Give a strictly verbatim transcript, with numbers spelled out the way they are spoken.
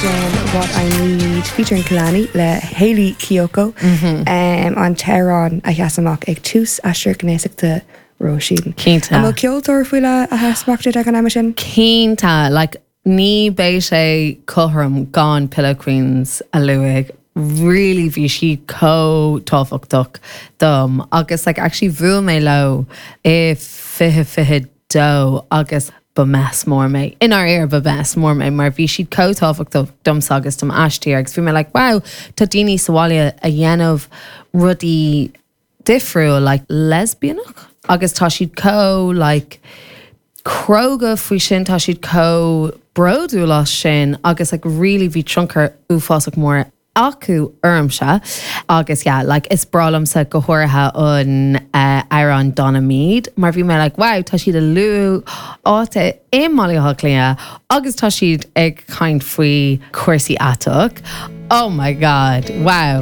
Sin What I Need featuring Kehlani le Hayley Kiyoko mm -hmm. um, an t-amhrán a sheas amach ag tús aistear gnéasachta Róisín. Cinnte. An bhfuil ceoltóir faoi leith a sheas amach duit ag an am sin? Cinnte like, ní bheadh sé cothrom gan Pillow Queens a lua. Really bhí siad chomh tábhachtach dom agus like, actually bhuail mé leo i fiche fiche dó agus ba mess mór mé. In ar air ba mess mór mé mar bhí siad chomh tábhachtach domsa agus dom aistear agus bhí mé like, wow, tá daoine sa bhaile a dhéanamh rudaí difriúil like lesbianach agus tá siad chomh like cróga faoi sin tá siad chomh bródúil as sin agus like really bhí tionchar uafásach mór acu ormsa agus yeah, like, is breá liomsa go háirithe an uh, amhrán Donna Mead mar bhí mé like, wow, tá siad i lár áite i mBaile Átha Cliath agus tá siad ag caint faoi cúrsaí aiteach. Oh my god, wow.